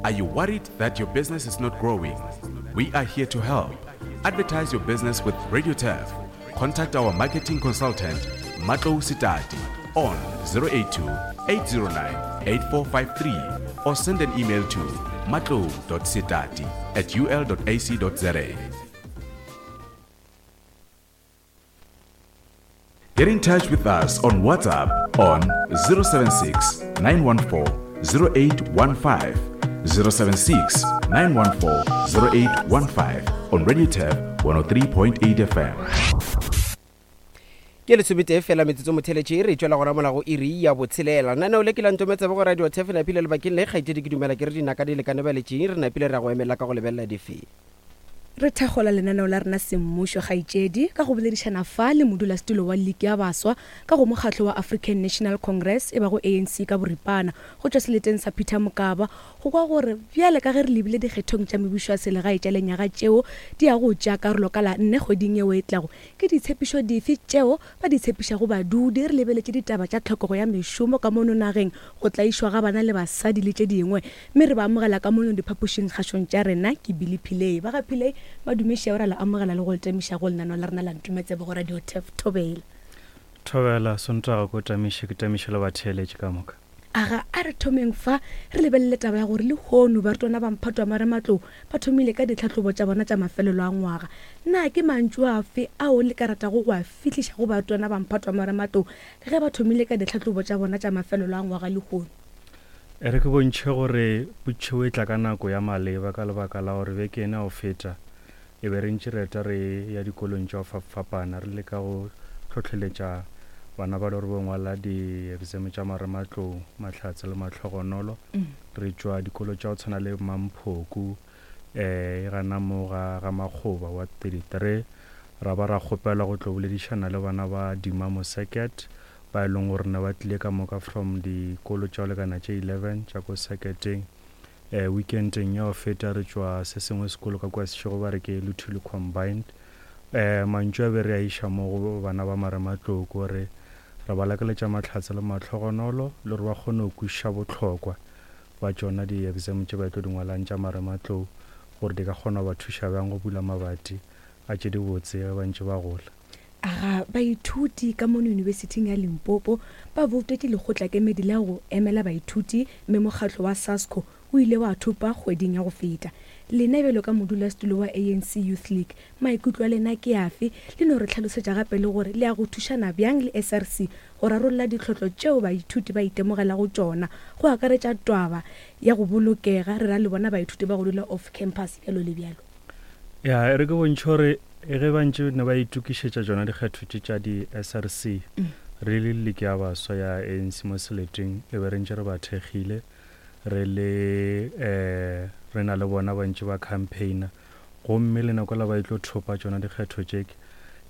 Are you worried that your business is not growing? We are here to help. Advertise your business with Radio Turf. Contact our marketing consultant, Matlo Sitati, on 082 809 8453 or send an email to matlo.sitati at ul.ac.za. Get in touch with us on WhatsApp on 076 914 0815. 076 914 0815 on Radio Tab 103.8 FM. Ke lesometee fela metsotso motheletše re tšwela gona mola go iri ya botshelela. Naneo le ke la ntometsebe go radio Turf napile lebakeng le kgaetšedi ke dumela ke re dinaka di lekane baletšing re napile ra go emela ka go lebelela dife. Re thakgola lenaneo la rena semmušo, kgaetšedi, ka go boledišana fa le modulasetulo wa Liki ya Baswa ka go mokgatlo wa African National Congress, e bago ANC ka boripana, go tšwa seleteng sa Peter Mokaba, go kwa gore bjale ka ge re lebile dikgethong tša mebušo ya selegae tša lenyaga tšeo di yago go tšea karolo ka la nne kgweding yeo e tlago, ke ditshepišo dife tšeo ba di tshepišago badudi, re lebeletše ditaba tša tlhokego ya mešomo ka mono nageng, go tlaišwa ga bana le basadi le tše dingwe. Mme re ba amogela ka mono diphapošing kgašong tša rena. Ke Billy Pillay. Ba ga Pillay, madumeši ao ra le amogela le go le tamiša go lenaneo la rena la Ntumetsebe go Radio Turf. Thobela. Thobela, Sontaga ko tamiše, ke tamiše le batheeletši ka moka. Aga, a re thomeng fa re lebelele taba ya gore lehono barutwana ba mphato wa marematlou ba thomile ka ditlhahlobo tša bona tša mafelelo a ngwaga. Na ke mantšu afe ao le ka ratago go a fihliša go barutwana ba mphato wa marematlou ka ge ba thomile ka ditlhahlobo tša bona tša mafelelo a ngwaga lehono? E re ke bontšhe gore potšišo e tla ka nako ya maleba ka lebaka la gore beke ena ya go feta e be re ntše re eta re ya dikolong tša go fapfapana re leka go hlohleletša bana ba le gore bo ngwala di-exam tša marematlou, mahlatse le mahlogonolo. Re tšwa dikolo tša go tshwana le Mamphoku um gana mo ga ga Makgoba wa 33 ra ba ra kgopelwa go tlo boledišana le bana ba Dimamo Circuit ba e leng gore ne ba tlile ka moka from dikolo tša go lekana tše 11 tša ko circuiteng. Weekendeng ya go feta re tšwa se sengwe sekolo ka kua Seshego ba re ke Luthuli Combined. Mantšu a be re a iša mo go bana ba marematlou ke gore re ba lakaletša mahlatse le mahlogonolo le gore ba kgone go kwešiša bohlokwa ba tšona di-exam tše ba tlo di ngwalang tša marematlou gore di ka kgona go ba thuša bjang go bula mabati a tše dibotse ge ba ntše ba gola. Aga baithuti ka mono Yunibesithing ya Limpopo ba boutetše lekgotlakemedi la go emela baithuti mme mokgatlo wa SASCO o ile wa thopa kgweding ya go feta. Lena bjalo ka modulasetulo wa ANC Youth League, maikutlo a lena ke afe? Le no re hlalosetša gape le gore le ya go thušana bjang le SRC go rarolla ditlhotlo tšeo baithuti ba itemogelago tšona, go akaretša twaba ya go bolokega, re ra le bona baithuti ba go dula off campus, bjalo le bjalo. Ya, e re ke bontšhe gore ge ba ntše ne ba itokišetša tšona dikgetho tše tša di-SRC, re le Liki ya Baswa ya ANC mo seleteng e be re ntše re ba thekgile, re le um re na le bona ba ntše ba campaigner. Gomme le nako la ba e tlo thopa tšona dikgetho tše,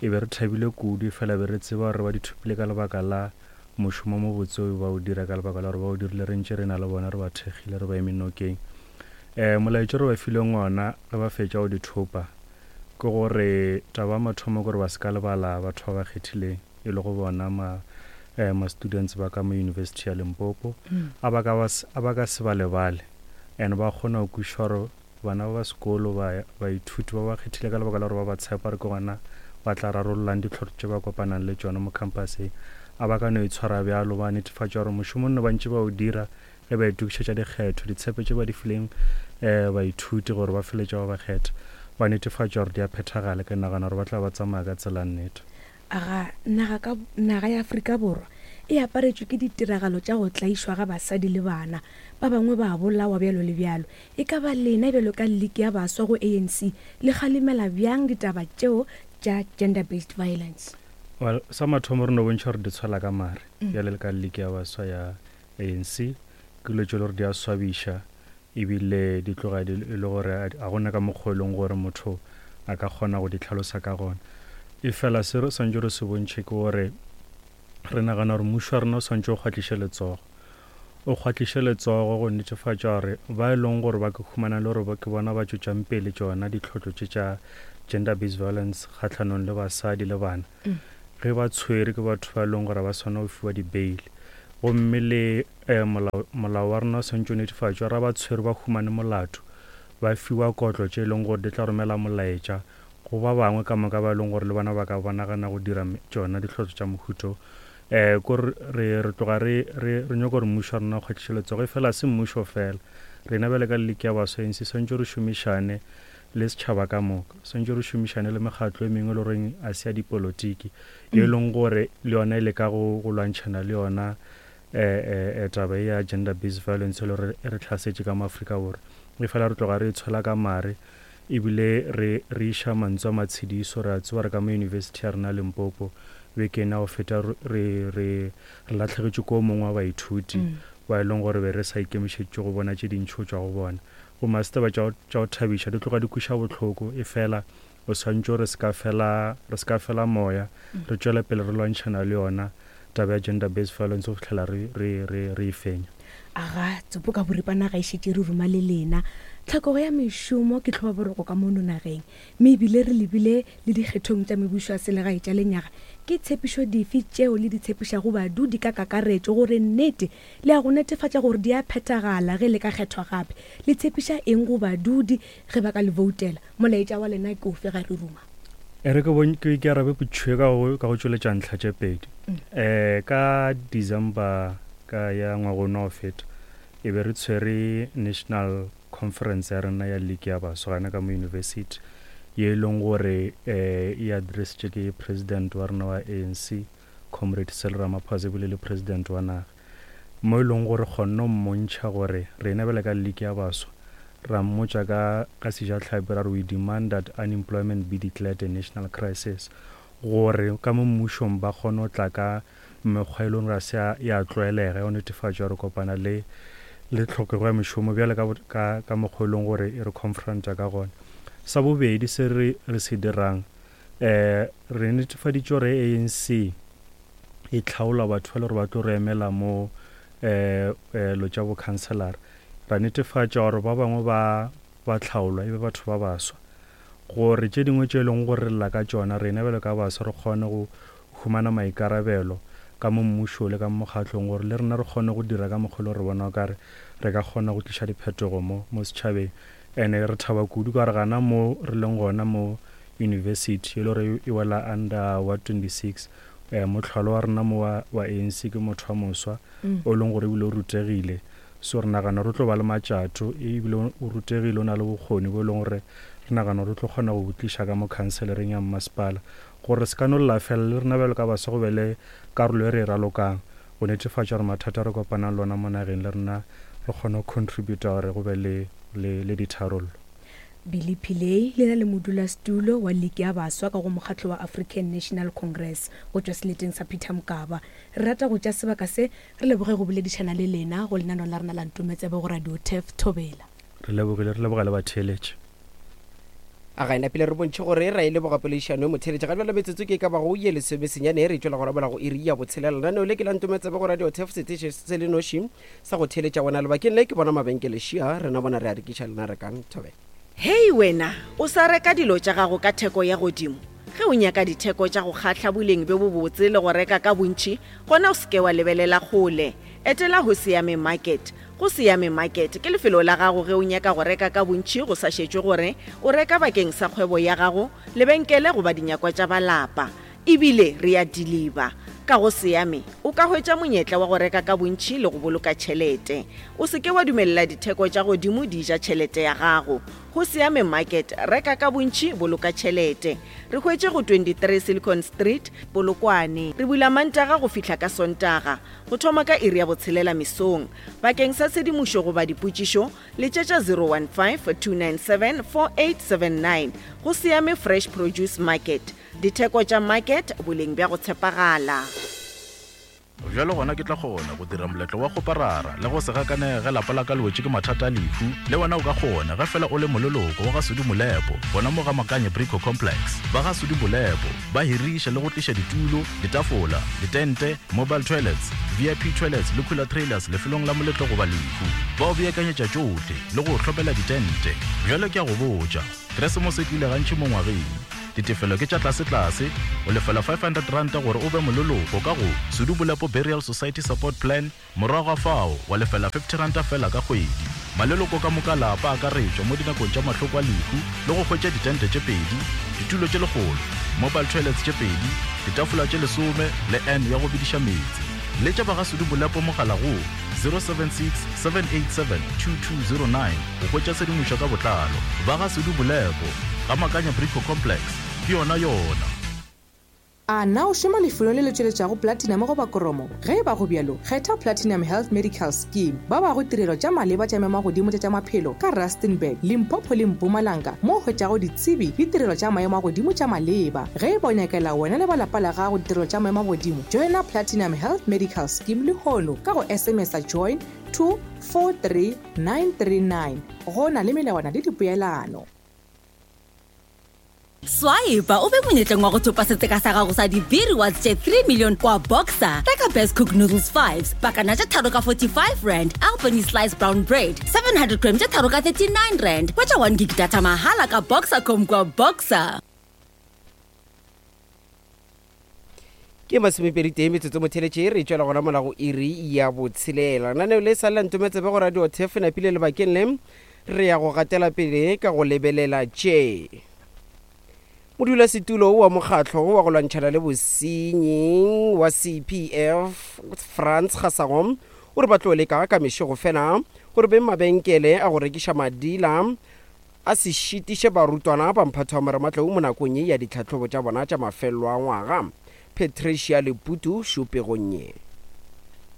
e be re thabile kudu, efela be re tseba gore ba di thopile ka lebaka la mošomo o mobotse o ba o dira, ka lebaka la gore ba o dirile re ntše re na le bona, re ba thekgile, re ba eme nokeng. Um molaetša o re ba fileng ona ge ba fetša go di thopa ke gore taba ya mathomo ke gore ba se ka lebala batho ba ba kgethileng e le go bona ma um ma students ba ka mo University ya Limpopo a ba ka ba a ba ka se ba lebale and ba kgona go kwešiša gore bana ba ba sekolo ba baithuti ba ba kgethile ka lebaka la gore ba ba tshepa gore ke gona ba tla rarollang ditlhotlo tše ba kopanang le tšona mo campuseng a ba ka no itshwara bjalo ba netefatša gore mošomo nne ba ntše ba o dira Ge ba itokišetša dikgetho, ditshepe tše ba di fileng baithuti gore ba feletše ba ba kgetha, ba netefatša gore di a phethagala. Ke nagana gore ba tla ba tsamaya ka tsela nnete. Aga naga ka naga ya Afrika Borwa e aparetšwe ke ditiragalo tša go tlaišwa ga basadi le bana. Ba bangwe ba a bolawa bjalo le bjalo. E ka ba lena bjalo ka Liki ya Baswa go ANC le kgalemela bjang ditaba tšeo tša gender based violence? Well, sa mathomo re no bontšha gore di tshwela ka mare bjale le ka Liki ya Baswa ya ANC, ke dilo tše e le gore di a swabiša ebile di tloga e le gore ga gona ka mokgwa e leng gore motho a ka kgona go di hlalosa ka gona. Efela se re swantše re se bontšhe ke gore re nagana gore mmušo wa rena o swantše o kgwatliše letsogo, o kgwatliše letsogo go netefatša gore ba e leng gore ba ke humana le gore ke bona ba tšwetšang pele tšona ditlhotlo tše tša gender based violence kgahlanong le basadi le bana, ge ba tshwere ke batho ba e leng gore ba swanela go fiwa di-bail. Gomme le. um molao, molao wa rena o swantše o netefatšwe ra ba tshwere ba humane molato, ba fiwa kotlo tše e leng gore di tla romela molaetša go ba bangwe ka moka ba e leng gore le bona ba ka ba nagana go dira tšona dihlotlo tša mohuta wo. Um ko re, re, re tloga re, re, re nyoko gore mmušo wa rena o kgwathiše letsogo, efela ga se mmušo fela. Rena bjale ka Liki ya Baswa ANC swantše re šomišane le setšhaba ka moka, swantše re šomišane le mekgatlo e mengwe e le goreng a se ya dipolotiki, ye e leng gore le yona e leka go, go lwantšhana le yona um taba ye ya gender based violence e le gore e re hlasetše ka mo Afrika Borwa. Efela re tloga re e tshwela ka mare ebile re, re iša mantswe a matshediso. Re a tseba re ka mo University ya rena Limpopo beke ena go feta re, re, re lahlegetšwe ke o mongwe wa baithuti ba e leng gore be re sa ikemišeditše go bona tše dintši go tšwa go bona. Gomme ga se taba tša go, tša go thabiša, di tloga di kweša bohloko, efela o swantše gore se ka fela, re se ka fela moya, re tšwele pele re lwantšhana le yona taba ya gender based violence go fihlela re, re, re, re e fenya. Aga, tsopo ka boripana ga e šetše re ruma le lena. Tlhokego ya mešomo ke tlhobaboroko ka mono nageng, mme ebile re lebile le dikgethong tša mebušo ya selegae tša lenyaga. Ke tshepišo dife tšeo le di tshepišago badudi ka kakaretšo gore nnete le ya go netefatša gore di a phethagala ge le ka kgethwa gape? Le tshepiša eng go badudi ge ba ka le voutela? Molaetša wa lena ke ofe ga re ruma? E re ke bon, ke, ke arabe potšišo ye ka go, ka go tšweletša ntlha tše pedi. Um ka December ka ya ngwaga ono wa go feta, e be re tshwere National Conference ya rena ya League ya Baswa gana ka mo university, ye e leng gore um e addressitše ke President wa rena wa ANC, Comrade Cyril Ramaphosa ebile le President wa naga. Mo e leng gore kgonne go mmontšha gore rena bjale ka League ya Baswa ra mmotša ka, ka Sejatlhapi ra re we demand that unemployment be declared a national crisis gore ka mo mmušong ba kgone go tla ka mekgwa e leng gore ga se ya, ya tlwaelega ya go netefatša gore kopana le, le tlhokego ya mešomo bjale ka, ka, ka mokgwa e leng gore e re confronta ka gona. Sa bobedi se re, re se dirang, um re netefaditše gore ANC e tlhaola batho ba le gore ba tlo re emela mo um lo tša bokhanselara. Ra netefatša gore ba bangwe ba ba tlhaolwa e be batho ba baswa, gore tše dingwe tše e leng gore re lla ka tšona rena bjalo ka baswa re kgone go humana maikarabelo ka mo mmušong le ka mo mokgatlong gore le rena re kgone go dira ka mokgwa e le gore re bona o kare re ka kgona go tliša diphetogo mo mo setšhabeng. And-e re thaba kudu ka gore gana mo re leng gona mo university e le gore e wela under ward 26, mohlwalo wa rena mo wa, wa ANC ke motho wa moswa o e leng gore ebile o rutegile. So re nagana gore o tlo ba le matšato ebile o rutegile, o na le bokgoni bo e leng gore re nagana gore o tlo kgona go bo tliša ka mo khanselereng ya mmasepala gore re se ka no lla fela, le rena bjalo ka baswa go be le karolo e re e ralokang go netefatša gore mathata a re kopanang le ona mo nageng le rena re kgone go contributa gore go be le, le, le ditharollo. Billy Pillay le na le modulasetulo wa Liki ya Baswa ka go mokgatlo wa African National Congress go tšwa seleteng sa Peter Mokaba. Re rata go tšea sebaka se re leboge go boledišana le lena go lenaneo la rena la Ntometsebe go Radio Turf Thobela. Re lebogile, re leboga le batheeletši. A ga e napile re bontšhe gore ra e leboga poledišano e motheeletši. Ga bjale metsotso ke e ka bago ye lesomesenyane re tšwela go rabola go iri ya botshelela. Lenaneo le ke la Ntometsebe go Radio Turf, seteše se le noši sa go theeletša wena. Lebakeng le ke bona mabenkele šia, rena bona re a rekiša lena rekang. Thobela. Hei wena, o sa reka dilo tša gago ka theko ya godimo? Ge o nyaka ditheko tša go kgahla, boleng bjo bobotse le go reka ka bontši, gona o se ke wa lebelela kgole. Etela Hosiame Market. Go Siame Market ke lefelo la gago ge o nyaka go reka ka bontši go sa šetšwe gore o reka bakeng sa kgwebo ya gago, lebenkele goba dinyakwa tša ba lapa. E bile re a diliba. Ka go Siame o ka hwetša monyetla wa go reka ka bontši le go boloka tšhelete. O se ke wa dumelela ditheko tša godimo di ja tšhelete ya gago. Go Siame Market, reka ka bontši, boloka tšhelete. Re hwetše go 23 Silicon Street, Polokwane. Re bula Mantaga go fihla ka Sontaga. Go thoma ka iri ya botshelela mesong. Bakeng sa tshedimošo goba dipotšišo, letšetša 015-297-4879. Go Siame Fresh Produce Market. Ditheko tša market, boleng bja go tshepagala. Bjalo gona ke tla kgona go dira moletlo wa kgoparara le go se gakanege ge lapa la ka le wetše ke mathata a lehu. Le wena o ka kgona ge fela o le moleloko wa ga Sudi Molepo gona mo ga Makanye Brico Complex. Ba ga Sudi Molepo ba hiriša le go tliša ditulo, ditafola, ditente, mobile toilets, VIP toilets le cooler trailers lefelong la moletlo goba lehu. Ba o beakanyetša tšohle le go o hlomela ditente. Bjale ke a go botša, Keresemose e tlile gantši mo ngwageng. Ditefelo ke tša tlasetlase, o lefela R500 gore o be moleloko ka go Sudu Bolepo Burial Society Support Plan, morago ga fao wa lefela R50 feela ka kgwedi. Maleloko ka moka a lapa a akaretšwa mo dinakong tša mahloko a lehu le go hwetša ditente tše pedi, ditulo tše lekgolo, mobile toilets tše pedi, ditafola tše lesome le urn ya go bediša meetse. Letša ba ga Sudu Bolepo mogala go 076 787 2209 go hwetša tshedimošo ka botlalo. Ba ga Sudu Bolepo, ga Makanya Brico Complex, ke yona yona. A na o šoma lefelong le le tšweletšago platinum goba kromo? Ge e ba go bjalo, kgetha Platinum Health Medical Scheme. Ba bago tirelo tša maleba tša maemo-a-godimo tša tša maphelo ka Rustenburg, Limpopo le Mpumalanga mo o hwetšago ditsebi le tirelo tša maemo a godimo tša maleba. Ge e ba o nyakela wena le ba lapa la gago ditirelo tša maemo a godimo, joina Platinum Health Medical Scheme lehono ka go SMS-a join to 43939. Go na le melawana le dipoelano. Swipa o be monyetleng wa go thopa setseka sa gago sa di-B rewards tše 3 million kwa Boxer. Reka Best Cook Noodles 5s, pakana tše tharo ka 45 rand, Albany Slice Brown Bread, 700 gram tše tharo ka 39 rand. Hwetša 1 gig data mahala ka Boxercom kwa Boxer. Ke masomepeditee metsotso motheletše re tšwela gona mola go iri ya botshelela. Lenaneo le sa lela ntometsebe go Radio Turf napile lebakeng le re ya go gatela pele ka go lebelela tše. Modulasetulo wa mokgatlo wa go lwantšhana le bosenyi wa CPF Frans Gasago o re ba tlo leka ka mešego fela gore beng mabenkele a go rekiša madila a se šitiše barutwana ba mphato wa marematlou mo nakong ye ya ditlhahlobo tša bona tša mafelelo a ngwaga. Patricia Leputu šo pegong ye.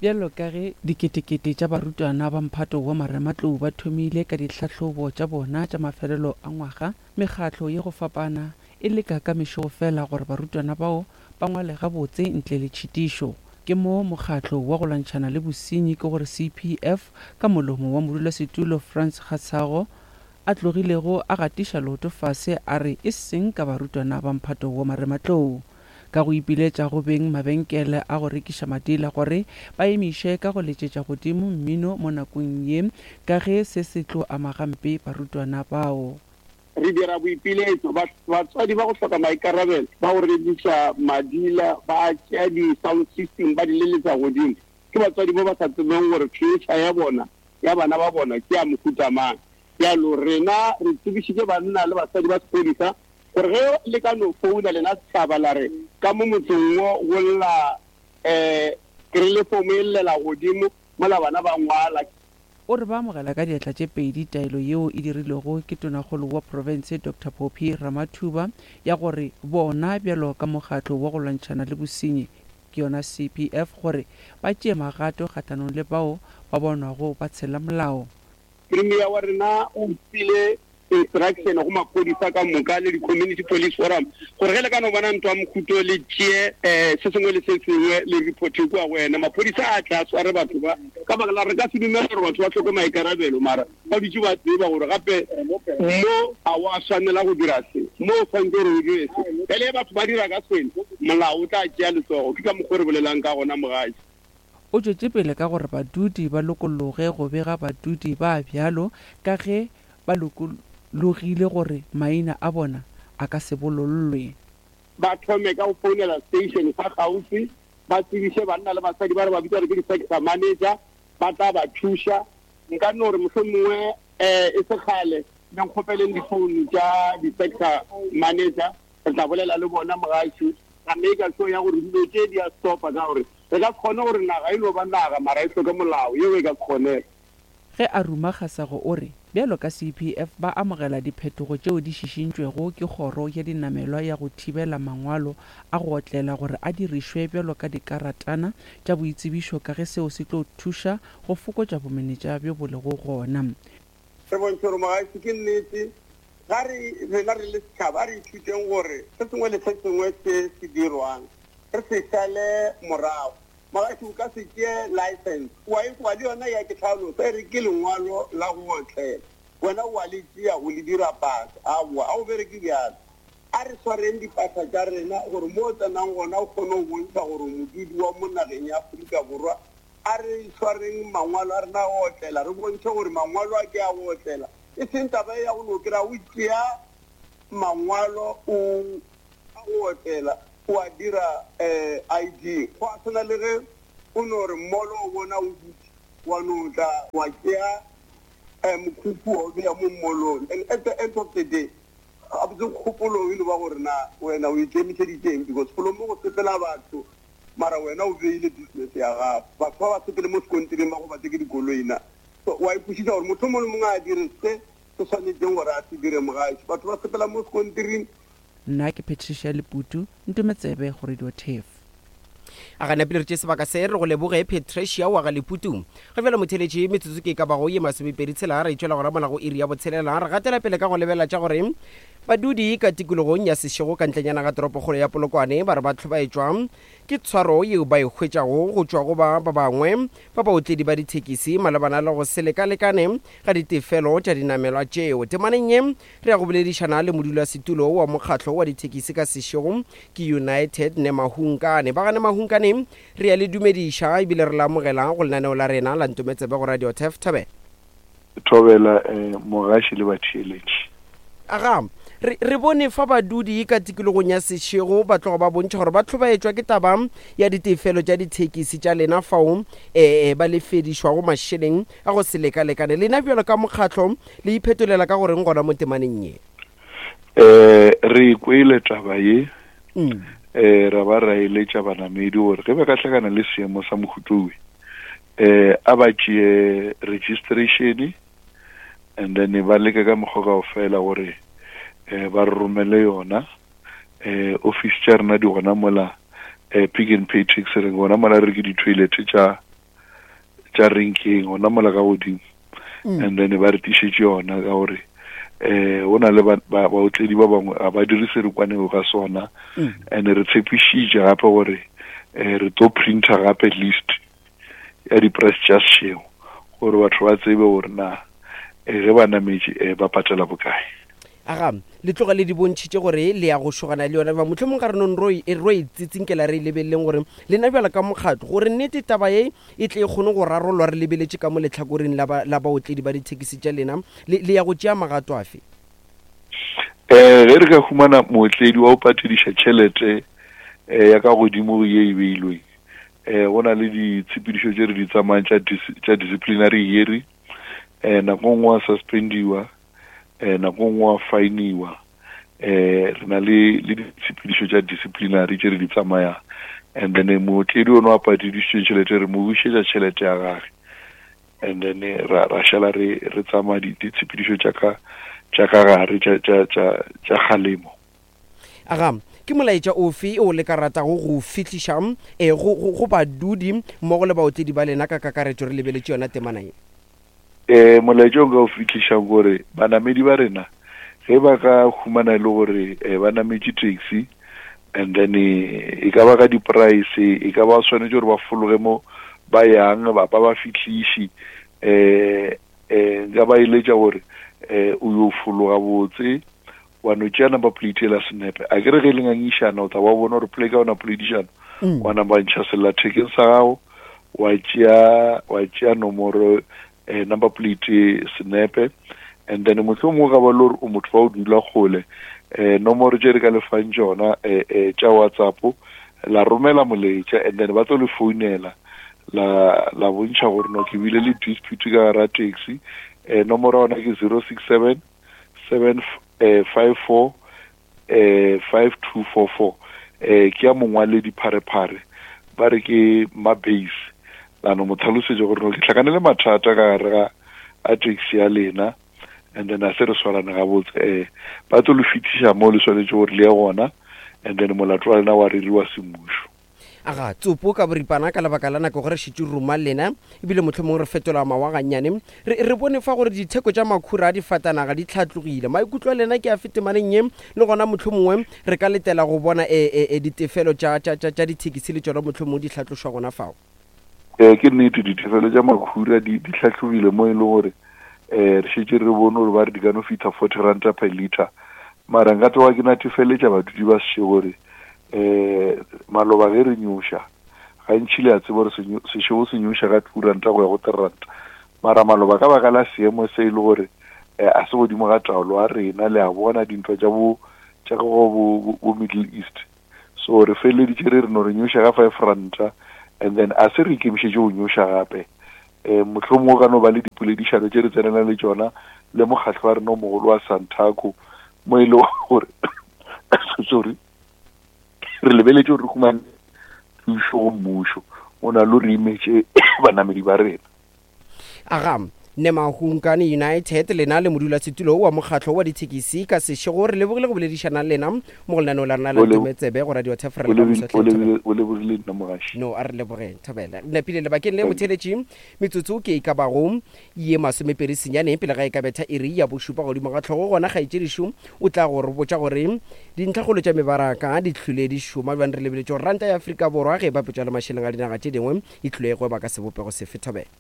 Bjalo ka ge diketekete tša barutwana ba mphato wa marematlou ba thomile ka ditlhahlobo tša bona tša mafelelo a ngwaga, mekgatlo ye go fapana e leka ka mešego fela gore barutwana bao ba ngwale gabotse ntle le tšhitišo. Ke mo mokgatlo wa go lwantšhana le bosenyi ke gore CPF ka molomo wa modulasetulo Frans Kgatshago a tlogilego a gatiša leoto fase a re e seng ka barutwana ba mphato wa marematlou ka go ipiletša go beng mabenkele a go rekiša madila gore ba emiše ka go letšetša godimo mmino mo nakong ye ka ge se se tlo ama gampe barutwana bao. Re dira boipiletšo, batswadi ba go hloka maikarabelo ba go rekiša madila ba tšea di-sound system ba di leletša godimo, ke batswadi ba ba sa tsebeng gore future ya bona, ya bana ba bona ke ya mohuta mang. Bjalo rena re tsebišitše banna le basadi ba sephodisa gore ge le ka no founa lena setšhaba la re ka mo motseng wo go lla um kerelefomo e llela godimo mola bana ba ngwala. O re ba amogela ka diatla tše pedi taelo yeo e dirilwego ke Tonakgolo wa profense Doctor Phophi Ramathuba ya gore bona bjalo ka mokgatlo wa go lwantšhana le bosenyi ke yona CPF gore ba tšee magato kgahlanong le bao ba bonwago ba tshela molao. Premier wa rena o file instruction go maphodisa ka moka le di-community police forum gore ge le ka no bona ntwa mokhuto le tšee um se sengwe le se sengwe le reporte kua go ena. Maphodisa a tla a sware batho ba ka baka la re ka se dumela gore batho ba hloke maikarabelo mara ba dutše ba tseba gore gape mo ga wa swanela go dira se, mo o swanetše gore o dire se. Bjale ge batho ba dira ka seno, molao o tla tšea letsogo. Ke ka mokgwa o re bolelang ka gona, mogatši. O tšwetše pele ka gore badudi ba lokologe go bega badudi ba bjalo ka ge ba lokologile gore maina a bona a ka se bolollwe. Ba thome ka go founela station sa kgauswi, ba tsebiše banna le basadi ba re ba bitsa gore ke di-sector manager, ba tla ba thuša. Nka no re mohlomongwe e se kgale le nkgopeleng difounu tša di-sector manager, re tla bolela le bona mogaši, ra maker sure ya gore dilo tše di a stopa, ka gore re ka se kgone gore naga e no ba naga mara e hloke molao, yeo e ka se kgonege. Ge a ruma Kgasago o re bjalo ka CPF ba amogela diphetogo tšeo di šišintšwego ke Kgoro ya Dinamelwa ya go thibela mangwalo a go otlela gore a dirišwe bjalo ka dikaratana tša boitsebišo ka ge seo se tlo thuša go fokotša bomenetša bjo bo lego gona. Re bontšhe gore mogaši ke nnete. Ga re, rena re le setšhaba, a re ithuteng gore se sengwe le se sengwe se se dirwang re se šale morago. Mogaši o ka se tšee license wa e kwa, le yona ya ke hlalosa e re ke lengwalo la go otlela, wena wa le tšea o le dira pasa. Aowa, ga o bereke bjalo. A re swareng dipasa tša rena gore mo o tsenang gona o kgone go bontšha gore o modudi wa mo nageng ya Afrika Borwa. A re swareng mangwalo a rena a go otlela, re bontšhe gore mangwalo a ke a go otlela, e seng taba ye ya go no kry-a o tšea. mangwalo o a go otlela o a dira ID. Go a swana le ge o no re mmolo o bona o dutše wa no tla wa tšea mokhukhu wa o bea mo mmolong and at the end of the day gabotse kgopolo e no ba gore na wena o ikemišeditše eng because golo mo go sepela batho mara wena o beile business ya gago batho ba ba sepele mo sekontiring ba gobatse ke dikoloi na so wa ikwešiša gore motho mongwe le mongwe a dire se se swanetšeng gore a se dire mogaši batho ba sepela mo sekontiring. Nna ke Patricia Leputu, Ntometsebe go Radio Turf. A ga napile re tše sebaka se re go leboge Patricia wa ga Leputu. Ga bjale motheletši metsotso ke e ka bago ye masomepedi tshela re tšwela gona mola go iri ya botshelela re gatela pele ka go lebelela tša gore badudi ka tikologong ya Seshego ka ntlenyana ga toropokgolo ya Polokwane ba re ba hlobaetšwa ke tshwaro yeo ba e hwetšago go tšwa go ba ba bangwe ba baotledi ba dithekisi malebana le go se lekalekane ga ditefelo tša dinamelwa tšeo. Temaneng ye Re ya go boledišana le modulasetulo wa mokgatlo wa dithekisi ka sešego ke United Nemahunkane. Ba ga Nemahunkane, re ya le dumediša ebile re le amogela go lenaneo la rena la Ntometsebe go Radio Turf. Thobela. Thobela eh, mogaši le batheeletši. Aga, re, re bone fa badudi ka tikologong ya Seshego ba tloga ba bontšha gore ba hlobaetšwa ke taba ya ditefelo tša dithekisi tša lena fao eh, ba lefedišwago mašeleng a go se lekalekane. Lena bjalo ka mokgatlo Le iphetolela ka goreng gona mo temaneng ye? Eh, re kwele taba ye. Mm. Eh, ra ba ra eletša banamedi gore ge ba ka hlakana le seemo sa mohutowe, eh, a ba tšee registration and then ba leke ka mokgwa kaofela gore eh, ba re romele yona. Eh, office tša rena di gona mola eh, Pick and Pay Taxi re gona mola re ke di-toilet tša tša renkeng gona mola ka godimo mm. and then ba re tišetše yona ka gore eh go na le baotledi ba bangwe ga ba dire se re kwanego ka sona mm. and re tshepišitše gape gore eh re tlo printer gape list ya di-price tša sešego gore batho ba tsebe gore na eh, ge ba nametše eh, ba patela bokae. Aga, le tloga le di bontšhitše gore le ya go šogana le yona bjang? Mohlomong ga re nong ro e, ro e tsitsinkela re e lebeleleng gore lena bjalo ka mokgatlo, gore nnete taba ye e tle e kgone go rarollwa re lebeletše ka mo lehlakoreng la ba, la baotledi ba dithekisi tša lena, le, le ya go tšea magato afe? Um ge re ka humana mootledi wa go patediša tšhelete um ya ka godimo go ye e beilweng, um go na le ditshepedišo tše re di tsamayang tša, tša disciplinary hearing, um nako nngwe wa suspendiwa, eh nako nngwe wa fainiwa eh re na le le ditshepedišo tša disciplinary tše re di tsamayang and then mootledi ono a patedišitše tšhelete re mo bušetša tšhelete ya gage and then ra ra šala re re tsamaya ditshepedišo tša ka tša ka gare tša tša tša tša kgalemo. Aga, ke molaetša ofe o le ka ratago go o fihliša eh, go, go, go badudi mmogo le baotledi ba lena ka kakaretšo re lebeletše yona temana ye? Um molaetša o nka o fihlišang gore banamedi ba rena ge ba ka humana e le gore um ba nametše taxi and then e ka ba ka di-price e ka ba swanetše gore ba fologe mo ba yang ba ba ba fihliši um um nka ba eletša gore um o yo fologa botse wa no tšea number plate ela senepe a ke re ge le ngangišana o tla wa bona gore play ka ona poledišano mm. wa namba ntšha sellathekeng sa gago wa tšea wa tšea nomoro eh, number plate senepe and then mohlomongwe ka ba le gore o motho wa o dula kgole eh nomoro tše re ka lefang tšona eh, eh, tša whatsapp la romela molaetša and then ba tlo le founela la la bontšha gore no ke bile le dispute ka gara taxi eh nomoro ya ona ke 067 7 5 4 eh 5244 eh ke ya mongwaledi pharephare ba re ke mabase la no mo tlhalosetša gore no ke tlhakane le mathata ka gare ga a taxi ya lena and then a se re swarane gabotse eh ba tlo le fetiša mo le swanetše gore le ye gona and then molato wa lena wa reriwa semmušo. Aga, tsopo ka boripana ka lebaka la nako ge re šetše ruma lena, ebile mohlomongwe re fetola mawa gannyane. Re, re bone fa gore ditheko tša makhura a difatanaga di hlatlogile. Maikutlo a lena ke afe temaneng ye? Le gona mohlomongwe re ka letela go bona e, e, e ditefelo tša, tša, tša, tša dithekisi le tšona mohlomongwe di hlatlošwa gona fao. Ee, ke nnete, ditefelo tša makhura di, di hlatlogile mo e leng gore um re šetše re bone gore ba re di ka no fihla 40 ranta per litre. Mara nka tloga ke natefeletša badudi ba sešego gore um maloba ge re nyoša gantši le a tseba gore sešego se nyoša ka two ranta go ya go three ranta mara maloba ka baka la seemo se e le gore Eh, a se godimo ga taolo a rena, le a bona dintwa tša bo tša go bo, bo Middle East. So re feleleditše re re no re nyoša ka 5 ranta and then a se re ikemišetše go nyoša gape. Eh, mohlomongwe go ka no ba le dipoledišano tše re tsenelang le tšona le mokgatlo wa rena o mogolo wa Santaco mo e le gore sorry re lebeletše gore re humane thušo go mmušo o na le re imetše banamedi ba rena. Aga, Nemahunkane United lena le modulasetulo wa mokgatlo wa dithekisi ka sešego re lebogile go boledišana le lena mo go lenaneo la rena la Ntometsebe go Radio Turf re le ka moso hle Thobela. O lebogile nna mogaši. No, a re lebogeng Thobela. Napile lebakeng le motheletši metsotso ke e ka bago ye masomepedi senyane pele ga e ka betha iri ya bošupa godimo ga hlogo gona kgaetšedišo o tla go re botša gore dintlhakgolo tša mebaraka di hlwile di šoma bjang re lebeletše gore ranta ya Afrika Borwa ge e bapetšwa le mašeleng a dinaga tše dingwe e tlile e gweba ka sebopego sefe Thobela.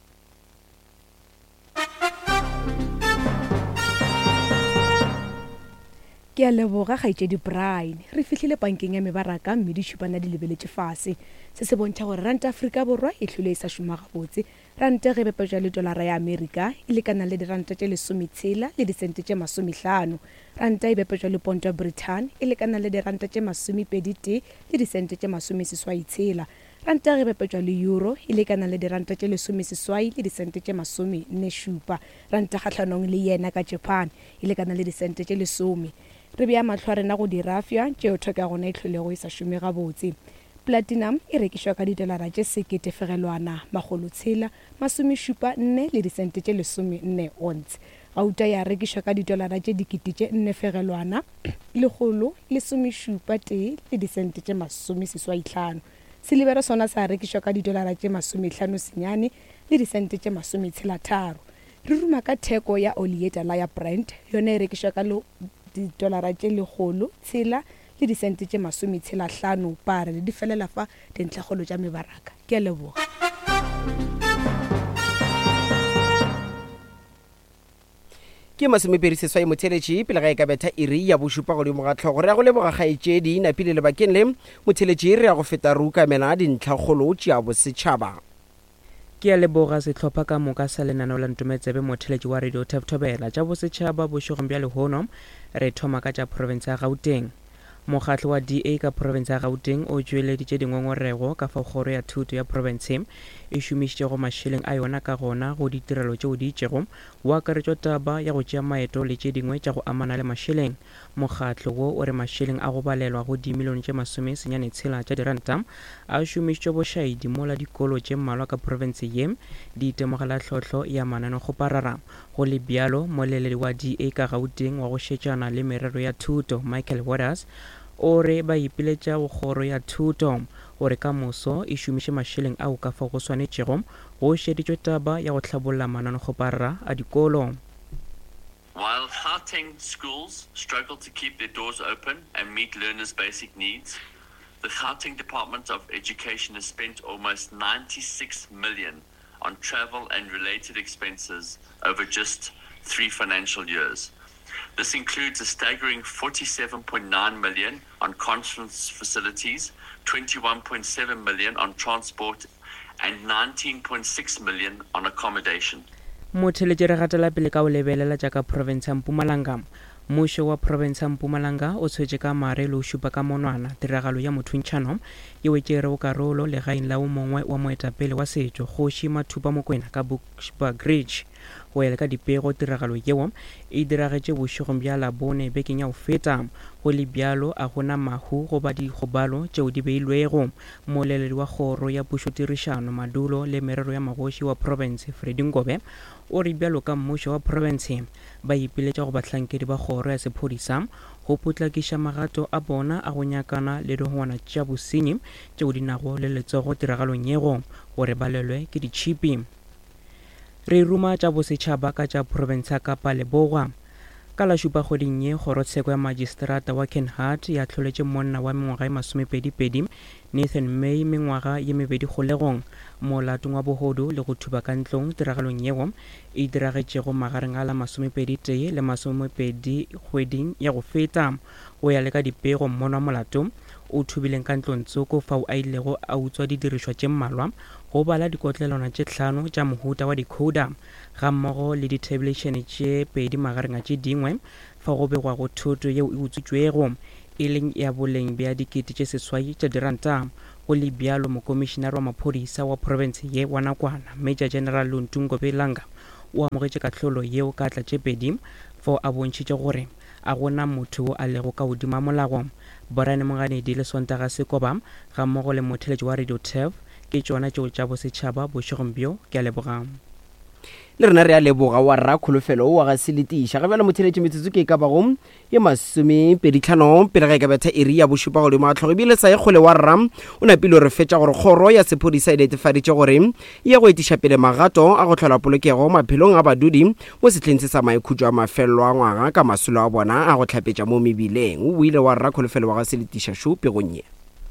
Ke a leboga, Kgaetšedi Brian. Re fihlile pankeng ya mebaraka mme ditšhupana di lebeletše fase. Se se bontšha gore ranta Afrika Borwa e hlwile e sa šoma gabotse. Ranta ge e bapetšwa le tolara ya Amerika e lekana le diranta tše lesometshela le disente tše masomehlano. Ranta e bapetšwa le ponto ya Brithani e lekana le diranta tše masomepeditee le disente tše masomeseswaitshela. Ranta ge e bapetšwa le euro e lekana le diranta tše lesomeseswai le disente tše masomennešupa. Ranta kgahlanong le yena ka Japan e lekana le disente tše lesome. Re bea mahlo a rena go dirafša tšeo theko ya gona e hlwelego e sa šome gabotse. Platinum e rekišwa ka didolara tše sekete fegelwana makgolotshela masomešupa nne le disente tše lesomenne once. Gauta ya rekišwa ka didolara tše dikete tše nne fegelwana lekgolo lesomešupa tee le disente tše masomeseswaihlano. Silibere sona sa rekišwa ka didolara tše masomehlano senyane le disente tše masometshelatharo. Re ruma ka theko ya oli ye tala ya Brent, yona e rekišwa ka didolara tše lekgolo tshela le disente tše masometshelahlano parele. Di felela fa dintlhakgolo tša mebaraka. Ke a leboga. Ke masomepedi seswai motheletši pele ga e ka betha iri ya bošupa godimo ga tlhogo. Re ya go leboga kgaetšedi Napile lebakeng le. Motheletši re ya go feta re ukamela dintlhakgolo tša bosetšhaba. Ke a leboga sehlopha ka moka sa lenaneo la Ntometsebe motheletši wa Radio Turf Thobela. Tša bosetšhaba bošegong bja lehono re thoma ka tša profense ya Gauteng. Mokgatlo wa DA ka profense ya Gauteng o tšweleditše dingongorego ka fao kgoro ya thuto ya profense e šomišitšego mašeleng a yona ka gona go ditirelo tšeo di itšego, go akaretšwa taba ya go tšea maeto le tše dingwe tša go amana le mašeleng. Mokgatlo wo o re mašeleng a go balelwa go dimilione tše masomesenyane tshela tša diranta a šomišitšwe bošaedi mola dikolo tše mmalwa ka profense ye di itemogela tlhohlo ya mananekgoparara. Go le bjalo, moleledi wa DA ka Gauteng wa go šetšana le merero ya thuto, Michael Waters, o re ba ipiletša go kgoro ya thuto gore ka moso e šomiše mašeleng ao ka fao go swanetšego go šeditšwe taba ya go hlabolla mananekgoparara a dikolo. While Gauteng schools struggle to keep their doors open and meet learners' basic needs, the Gauteng Department of Education has spent almost 96 million on travel and related expenses over just three financial years. This includes a staggering 47.9 million on conference facilities, 21.7 million on transport and 19.6 million on accommodation. Motheletši re gatela pele ka go lebelela tša ka profense ya Mpumalanga. Mmušo wa profense ya Mpumalanga o tshwetše ka mare le go šupa ka monwana tiragalo ya mothuntšhano yeo e tšerego karolo legaeng la o mongwe wa moetapele wa setšo, Kgoši Mathupa Mokwena ka Bushbuckridge. Go ya le ka dipego, tiragalo yeo e diragetše bošegong bja Labone bekeng ya go feta. Go le bjalo, a go na mahu goba dikgobalo tšeo di beilwego. Mmoleledi wa Kgoro ya Pušotirišano, Madulo le Merero ya Magoši wa profense, Freddy Ngobe, o re bjalo ka mmušo wa profense, ba ipiletša go bahlankedi ba kgoro ya sephodisa go potlakiša magato a bona a go nyakana le dihongwana tša bosenyi tšeo di nago le letsogo tiragalong yego gore ba lelwe ke ditšhipi. Re ruma tša bosetšhaba ka tša profense ya Kapa Lebowa. Ka la šupa kgweding ye, kgorotsheko ya majistrata wa Kenhardt e ahloletše monna wa mengwaga ye masomepedipedi, Nathan May, mengwaga ye mebedi kgolegong molatong wa bohodu le go thuba ka ntlong tiragalong yeo e diragetšego magareng a la masomepeditee le masomepedi kgweding ya go feta. Go ya le ka dipego, mmonwa molato o. o thubileng ka ntlongtsoko fao a ilego a utswa didirišwa tše mmalwa go bala dikotlelwana tše tlhano tša mohuta wa decoder gammogo le dithebelešene tše pedi magareng a tše dingwe fao go begwago thoto yeo e utswitšwego e leng ya boleng bja 8000 tša diranta. Go le bjalo, Mokomišinare wa Maphodisa wa profense ye wa nakwana, Major General Luntu Ngobelanga, o amogetše kahlolo yeo ka atla tše pedi fao a bontšhitše gore a go na motho wo a lego ka godimo ga molao. Brian Moganedi le Sontaga Sekoba gammogo le motheeletši wa Radio Turf ke tšona tšeo tša bosetšhaba bošegong bjo. Ke a leboga. Le rena re a leboga wa rra Kholofelo wa ga Seletiša. Ga bjale motheeletši metsotso ke e ka bago ye masomepeditlhano pele ga e ka betha iri ya bošupa godimo ga tlhogo ebile sa ye kgole wa rra o napile o re fetša gore kgoro ya sephodisa e netefaditše gore e ya go etiša pele magato a go hlola polokego maphelong a badudi mo sehleng se sa maikhutšo a mafelelo a ngwaga ka masolo a bona a go hlapetša mo mebileng. O buile wa rra Kholofelo wa ga Seletiša Šo pegong ye.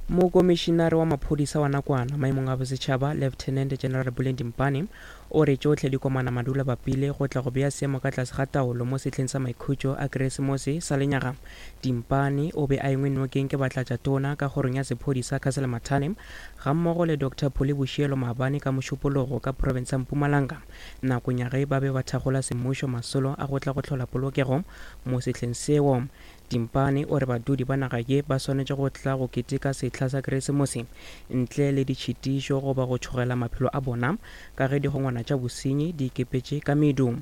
Mokomišinare wa maphodisa wa nakwana maemong a bosetšhaba, Lieutenant General Buleng Dimpane, o re tšohle di komana madula bapile go tla go bea seemo ka tlase ga taolo mo sehleng sa maikhutšo a Keresemose sa lenyaga. Dimpane o be a engwe nokeng ke batlatšatona ka kgorong ya sephodisa Castle Mathane gammogo le Doctor Pholi Boshielo maabane ka Mošupologo ka profense ya Mpumalanga nakong ya ge ba be ba thakgola semmušo masolo a go tla go hlola polokego mo sehleng seo. Dimpane o re badudi ba naga ye ba swanetše go tla go keteka sehla sa Keresemose ntle le ditšhitišo goba go tšhogela maphelo a bona ka ge digongwana tša bosenyi di ikepetše ka medu.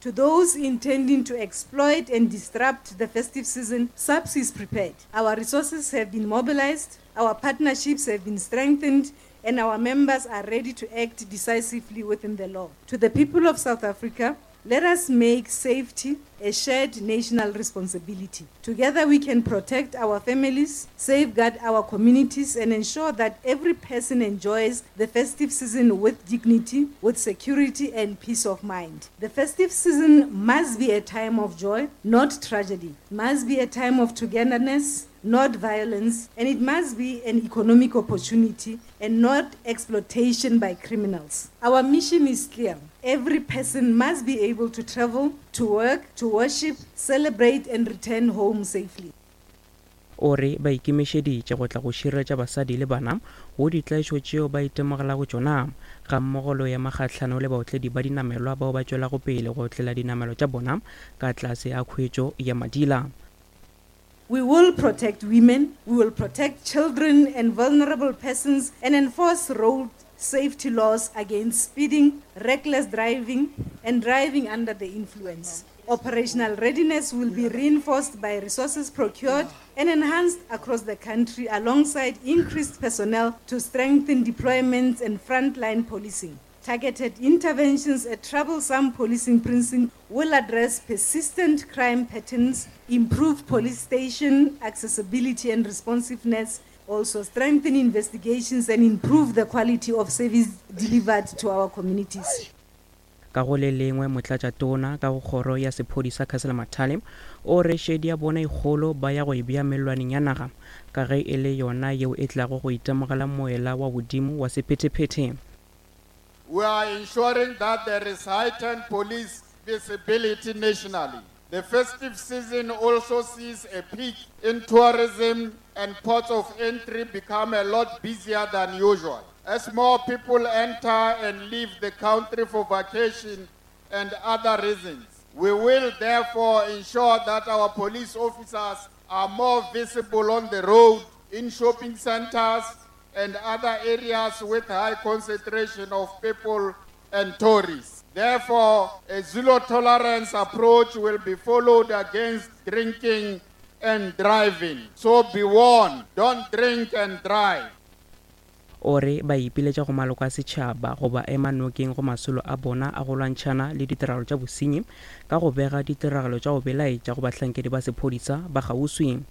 To those intending to exploit and disrupt the festive season, SAPS is prepared. Our resources have been mobilized, our partnerships have been strengthened, and our members are ready to act decisively within the law. To the people of South Africa, Let us make safety a shared national responsibility. Together we can protect our families, safeguard our communities, and ensure that every person enjoys the festive season with dignity, with security, and peace of mind. The festive season must be a time of joy, not tragedy. Must be a time of togetherness, not violence, and it must be an economic opportunity and not exploitation by criminals. Our mission is clear. Every person must be able to travel, to work, to worship, celebrate and return home safely. O re ba ikemišeditše go tla go šireletša basadi le bana go ditlaišo tšeo ba itemogelago tšona, gammogo le go ema kgahlano le baotledi ba dinamelwa bao ba tšwelago pele go otlela dinamelwa tša bona ka tlase ga khuetšo ya madila. We will protect women, we will protect children and vulnerable persons and enforce road safety laws against speeding, reckless driving and driving under the influence. Operational readiness will be reinforced by resources procured and enhanced across the country alongside increased personnel to strengthen deployments and frontline policing. Targeted interventions at troublesome policing precincts will address persistent crime patterns, improve police station accessibility and responsiveness, also strengthen investigations and improve the quality of service delivered to our communities. Ka go le lengwe, Motlatšatona ka go Kgoro ya Sephodisa Castle Mathale o re šedi ya bona e kgolo ba ya go e bea mellwaneng ya naga ka ge e le yona yeo e tlago go itemogela moela wa bodimo wa sephethephethe. We are ensuring that there is heightened police visibility nationally. The festive season also sees a peak in tourism and ports of entry become a lot busier than usual. As more people enter and leave the country for vacation and other reasons, we will therefore ensure that our police officers are more visible on the road, in shopping centers, and other areas with high concentration of people and tourists. Therefore, a zero tolerance approach will be followed against drinking and driving. So be warned, don't drink and drive. O re ba ipiletša go maloko a setšhaba go ba ema nokeng go masolo a bona a go lwantšhana le ditiragalo tša bosenyi ka go bega ditiragalo tša go belaetša go bahlankedi ba sephodisa ba kgauswi.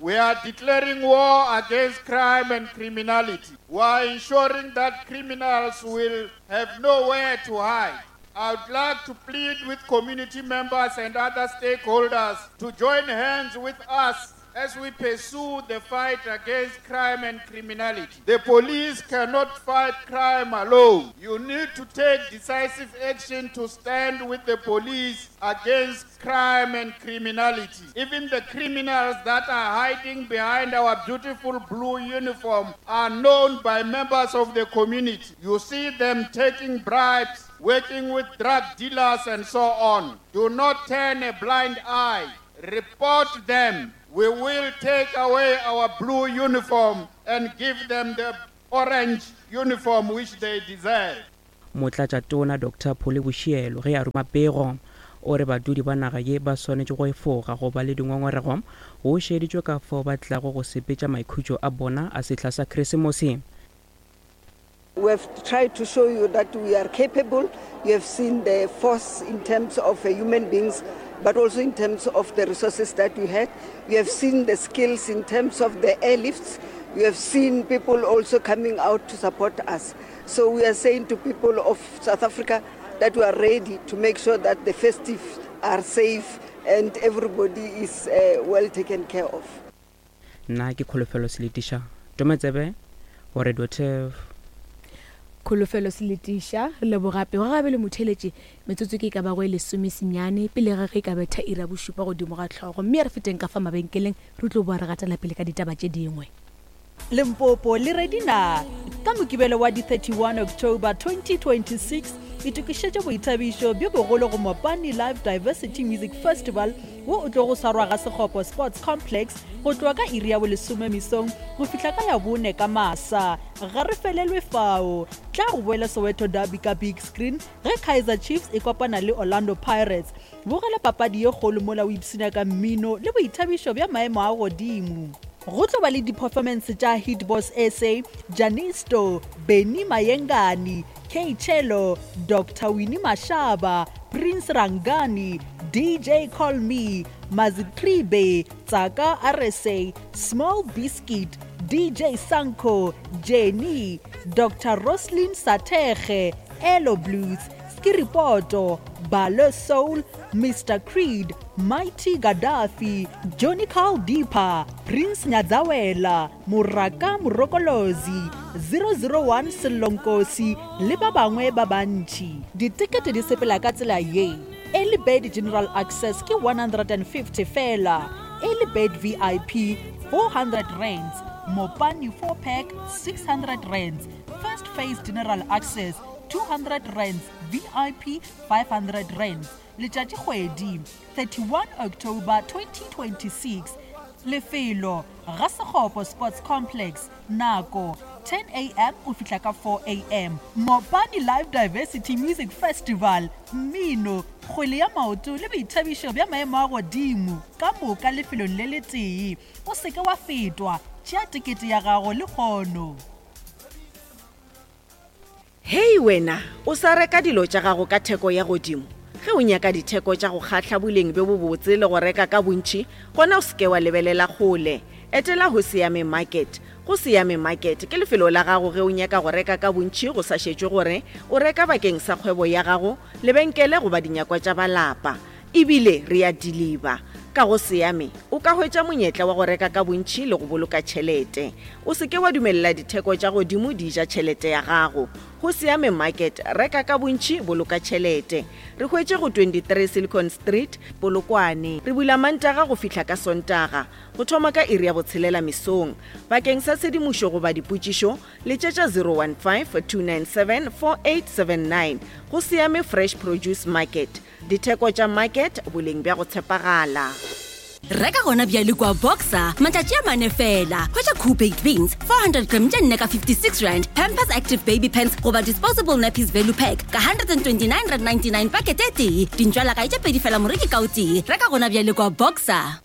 We are declaring war against crime and criminality. We are ensuring that criminals will have nowhere to hide. I would like to plead with community members and other stakeholders to join hands with us as we pursue the fight against crime and criminality. The police cannot fight crime alone. You need to take decisive action to stand with the police against crime and criminality. Even the criminals that are hiding behind our beautiful blue uniform are known by members of the community. You see them taking bribes, working with drug dealers, and so on. Do not turn a blind eye. Report them. We will take away our blue uniform and give them the orange uniform which they deserve. Motlatšatona Doctor Phole Boshielo ge a ruma pego o re badudi ba naga ye ba swanetše go efoga go ba le dingongorego go šeditšwe ka fao ba tlago go sepetša maikhutšo a bona a sehla sa Krisemose. We have tried to show you that we are capable. You have seen the force in terms of uh, human beings, but also in terms of the resources that we had. You have seen the skills in terms of the airlifts. You have seen people also coming out to support us. So we are saying to people of South Africa that we are ready to make sure that the festive are safe and everybody is uh, well taken care of. Nna ke Kholofelo Seletiša Tometsebe go Radio Turf. Kholofelo Seletiša, re leboga pego gabe le motheeletši. Metsotso ke e ka bago e lesomesenyane pele ga ge e ka betha iri ya bošupa godimo ga hlogo. Mme a re feteng ka fa mabenkeleng re tlo boa re gatela pele ka ditaba tše dingwe. Limpopo le ready na? Ka Mokibelo wa di 31 October 2026, itokišetše boithabišo bjo bogolo go Mopani Live Diversity Music Festival wo o tlogo swarwa ga Sekgopo Sports Complex go tloga ka iri ya bolesome mesong go fihla ka ya bone ka masa. Ga re felelwe fao. Tla go boele Soweto Derby ka big screen ge Kaizer Chiefs e kopana le Orlando Pirates. Bogela papadi ye kgolo mola o ipshina ka mmino le boithabišo bja maemo a godimo. Go tlo ba le di-performance tša Hitboss SA, Janisto, Benny Mayengani, K-Cello, Doctor Winnie Mashaba, Prince Rangani, DJ Call Me, Mazitribe, Tsaka RSA, Small Biscuit, DJ Sanko, Jenny, Doctor Roslyn Sathekge, Elo Blues, Skiripoto, Balo Soul, Mister Creed, Mighty Gaddafi, Johnny Carl Deeper, Prince Nyadzawela, Moraka Morokolozi, 001 Sello Nkosi le ba bangwe ba bantši. Ditekete di sepela ka tsela ye, Early Bird General Access ke 150 feela, Early Bird VIP 400 rands, Mopani 4 Pack 600 rands, First Phase General Access 200 rands, VIP 500 rands. Letšatšikgwedi, 31 October 2026. Lefelo, Ga-Sekgopo Sports Complex. Nako, 10 am go fihla ka 4 am. Mopani Live Diversity Music Festival, mmino, kgwele ya maoto le boithabišo bja maemo a godimo, ka moka lefelong le letee. O se ke wa fetwa, tšea tekete ya gago lehono. Hei wena, o sa reka dilo tša gago ka theko ya godimo? Ge o nyaka ditheko tša go kgahla boleng bjo bobotse le go reka ka bontši, gona o se ke wa lebelela kgole. Etela Hosiame Market. Go Siame Market ke lefelo la gago ge o nyaka go reka ka bontši go sa šetšwe gore o reka bakeng sa kgwebo ya gago, lebenkele goba dinyakwa tša ba lapa. E bile re a diliba. Ka go Siame, o ka hwetša monyetla wa go reka ka bontši le go boloka tšhelete. O se ke wa dumelela ditheko tša godimo di ja tšhelete ya gago. Go Siame Market, reka ka bontši, boloka tšhelete. Re hwetše go 23 Silicon Street, Polokwane. Re bula Mantaga go fihla ka Sontaga, go thoma ka iri ya botshelela mesong. Bakeng sa tshedimošo goba dipotšišo, letšetša 015 297 4879. Go Siame Fresh Produce Market. Ditheko tša market, boleng bja go tshepagala. Reka gona bjale kua Boxer, matšatši a mane fela. Hwetša Koo Baked Beans, 400 gram tše nne ka 56 rand, Pampers Active Baby Pants goba Disposable Nappies Value Pack ka 129.99 pakete e tee. Dintšwalakae tše pedi fela moreki ka o tee. Reka gona bjale kua Boxer.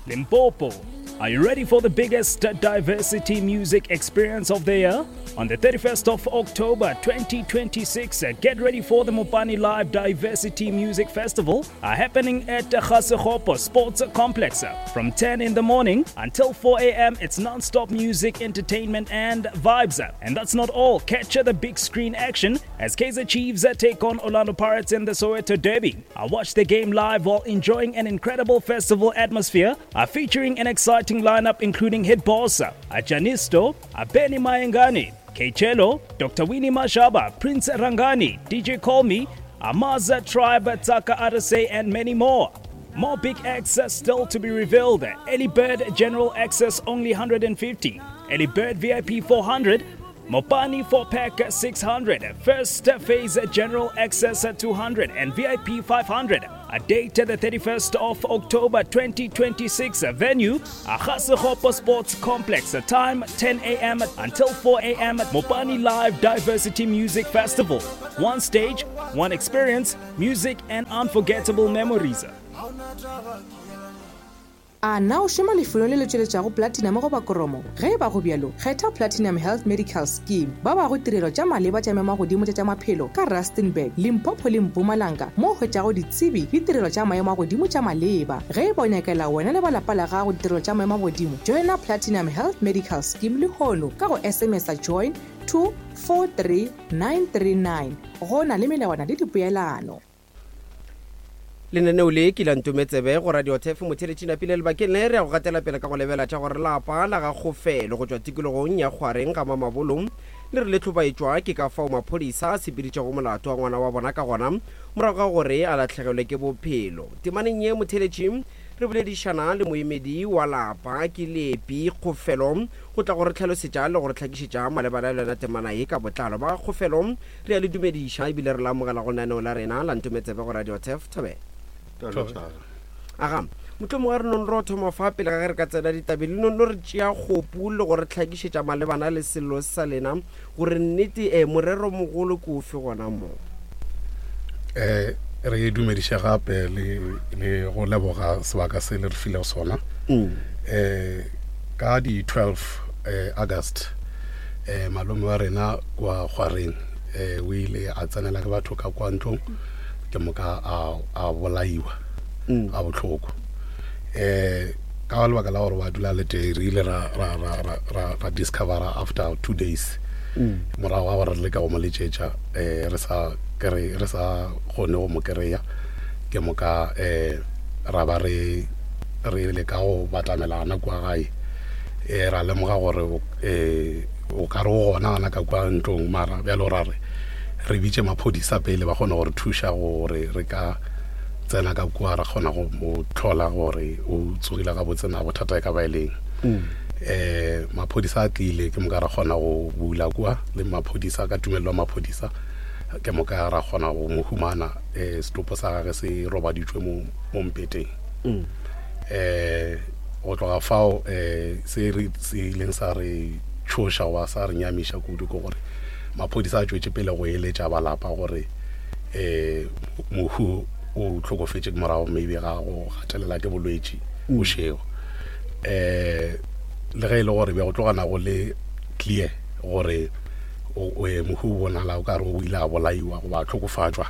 Limpopo, are you ready for the biggest diversity music experience of the year? On the 31st of October 2026, get ready for the Mopani Live Diversity Music Festival happening at Ga-Sekgopo Sports Complex from 10 in the morning until 4 a.m. It's non-stop music, entertainment and vibes. And that's not all. Catch the big screen action as Kaizer Chiefs take on Orlando Pirates in the Soweto Derby. I watch the game live while enjoying an incredible festival atmosphere, featuring an exciting lineup including Hit Boss, Janisto, Benny Mayengani, Kechelo, Dr. Winnie Mashaba, Prince Rangani, DJ Call Me, Amaza Tribe, Taka Arase, and many more. More big acts are still to be revealed. Ellie Bird General Access only 150, Ellie Bird VIP 400, Mopani 4 pack 600, First Phase General Access 200, and VIP 500. A date the 31st of October 2026. Venue Ga-Sekgopo Sports Complex. Time 10 a.m. until 4 a.m. Mopani Live Diversity Music Festival. One stage, one experience, music and unforgettable memories. A na o šoma lefelong le le tšweletšago platinum goba koromo? Ge e ba go bjalo, kgetha Platinum Health Medical Scheme. Ba bago tirelo tša maleba tša maemagodimo tša tša maphelo ka Rustenburg, Limpopo le Mpumalanga mo o hwetšago ditsebi le tirelo tša maemo a godimo tša maleba. Ge e ba o nyakela wena le ba lapa la gago ditirelo tša maemo a godimo, joina Platinum Health Medical Scheme lehono ka go SMS-a join to 43939. Go na le melawana le dipoelano. Lenaneo le ke la Ntometsebe go Radio Turf Motheletši Napile lebakeng le re ya go gatela pele ka go lebela tša gore lapa la ga Kgofelo go tšwa tikologong ya Kgwareng ga Mamabolo le re le hlobaetšwa ke ka fao maphodisa a sepeditšego molato wa ngwana wa bona ka gona morago ga gore a lahlegelwe ke bophelo. Temaneng ye Motheletši re boledišana le moemedi wa lapa ke Leepi Kgofelo go tla go re hlalosetša le go re hlakišetša malebana le yona temana ye ka botlalo. Ba ga Kgofelo Re a le dumediša ebile re le amogela go lenaneo la rena la Ntometsebe go Radio Turf. Thobela. Aga, mohlomongwe a re nong ro thoma fa pele ga ge re ka tsena ditabeng, le nong no re tšea kgopu le go re hlakišetša malebana le sello se sa lena gore nnete eh, morero mogolo ke ofe gona mo. Eh, re dumediše gape le, le go leboga sebaka se le re filego sona. Eh, ka di 12 eh, August eh, malome wa rena kwa Kgwareng eh, o ile a tsenela ke batho ka kwa ntlong ke moka a, a bolaiwa mm. a bohloko eh ka lebaka la gore wa dula le tee re ile ra, ra, ra, ra, ra, ra discovera after two days mm. morago ga gore re leka go mo letšetša eh, re sa kry re sa kgone go mo kry-a ke moka eh, ra ba re re leka go batlamelana kua gae um ra lemoga gore um o ka re o gona gana ka kua ntlong mara bjalo ra re re bitše maphodisa pele ba kgone gore thuša gore re ka tsena ka kua ra kgona go mo tlhola gore o tsogile gabotse na bothata e ka ba e leng um maphodisa a tlile ke moka ra kgona go bula kua le maphodisa ka tumelelo ya maphodisa ke moka ra kgona go mo humana um setopo sa gage se robaditšwe mo mpeteng um go tloga fao um se re se ileng sa re tšhoša goba sa re nyamiša kudu ke gore maphodisa a tšwetše pele go eletša balapa gore um mohu o hlokofetše ke morago maybe ga go gatelela ke bolwetši bošego um le ge e le gore be go tlogana go le clear gore mohu o bonala o ka re o ile a bolaiwa goba a hlokofatšwa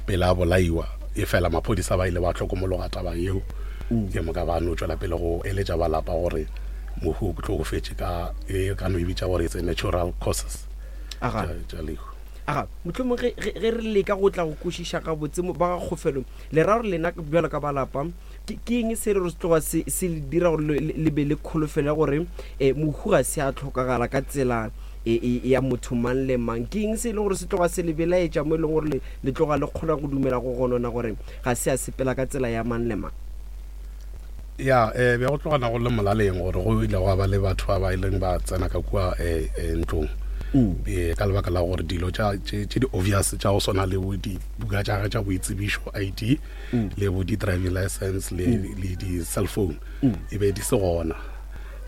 pele a bolaiwa e fela maphodisa ba ile ba hlokomologa taba yeo mm. ke moka ba no tšwela pele go eletša ba lapa gore mohu o hlokofetše ka e ka no e bitša gore it's a natural causes tša lehu aga mohlomong ge re leka go tla go kwešiša gabotse ba ga kgofelo le ra gore lena bjalo ka ba lapa ke eng se re re tloga se le dira gore le be le kholofelo ya gore um mohu ga se a tlhokagala ka tsela e, e, ya motho mang le mang ke eng se e leng gore se tloga se le belaetša mo e leng gore le tloga le kgona go dumela go gonona gore ga se a sepela ka tsela ya mang le mang ya um be go tlogana go le molaleng gore go ile gwa ba le batho ba ba ileng ba tsena ka kua um ntlong um ka lebaka la gore dilo tše di-obvious tša go swana le bo dibuka tša gage tša boitsebišo i d le bo di-driving license le mm. di-cell phone mm. e be di se gona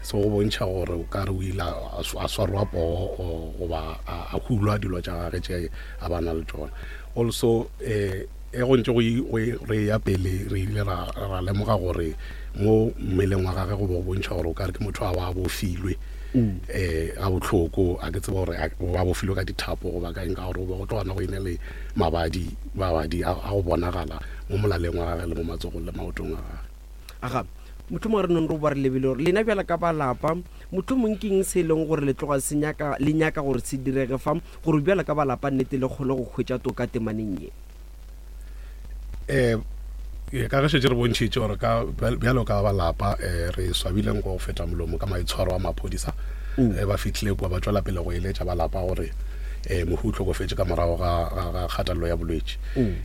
So go bontšha gore o ka re o ile a swarwa poo goba a hulwa dilo tša gage tše a ba na le tšona. Also um e go ntše go re ya pele re ile ra lemoga gore mo mmeleng wa gage go bo bontšha gore o ka re ke motho a ba bofilwe. um ga bohloko a ke tseba gore ba bofilwe ka dithapo goba ka eng ka gore go be go tlogana go ine le mabadi mabadi a go bonagala mo molaleng wa gage le mo matsogong le maotong a gage. Aga, mohlomongwe re nong re ba re lebile gore lena bjala ka ba lapa, mohlomong ke eng se e leng gore le tloga se nyaka, le nyaka gore se direge fa, gore bjala ka ba lapa nnete le kgone go hwetša toka temaneng ye? Um ka ge šetše re bontšhitše gore ka bjalo ka ba lapa um re swabile nko go feta molomo ka maitshwaro a maphodisa mm. eh, ba fihlile kua ba tšwela pele go eletša ba lapa gore um mohu o hlokofetše ka morago ga kgatelelo ya bolwetši um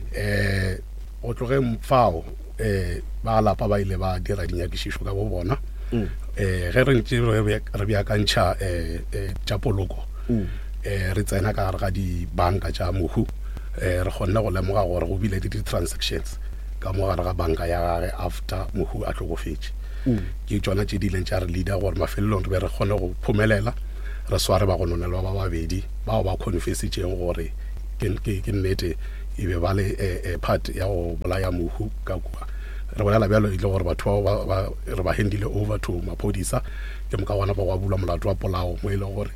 go tlogeng fao um ba lapa ba ile ba dira dinyakišišo ka bo bona um ge re ntše re beakantšha um tša poloko um re tsena ka gare ga dibanka tša mohu um re kgonne go lemoga gore go bile le di-transactions ka mo gare ga banka ya gage after mohu a hlokofetše ke tšona tše di ileng tša re leader gore mafelelong re be re kgone go phomelela re sware bagononelwa ba babedi bao ba confessitšeng gore ke nnete e be ba le eh, eh, part ya go bolaya mohu ka kua re bolela bjalo e le gore batho bao re ba handile over to maphodisa ke moka gona ba go bulwa molato wa polao mo e leng gore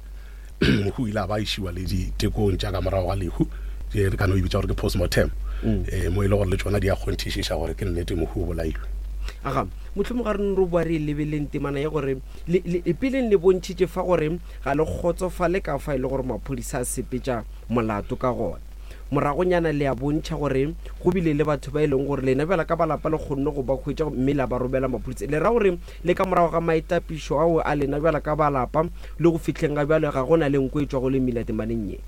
mohu o ile a ba išiwa le ditekong tša ka morago ga lehu tše re ka no e bitša gore ke postmortem um mo e le gore le tšona di a kgonthišiša gore ke nnete mohu o bolailwe. Aga, mohlomong ga re no re boa re e lebeleng temana ye gore le, le, peleng le bontšhitše fa gore ga le kgotsofale ka fa e le gore maphodisa a sepetša molato ka gona. Moragonyana le a bontšha gore go bile le batho ba e leng gore lena bjala ka ba lapa le kgonne go ba hwetša mme la ba romela maphodisa. Le ra gore le ka morago ga maitapišo ao a lena bjala ka ba lapa le go fihleng ga bjale ga go na le nko e tšwago le mmila temaneng ye?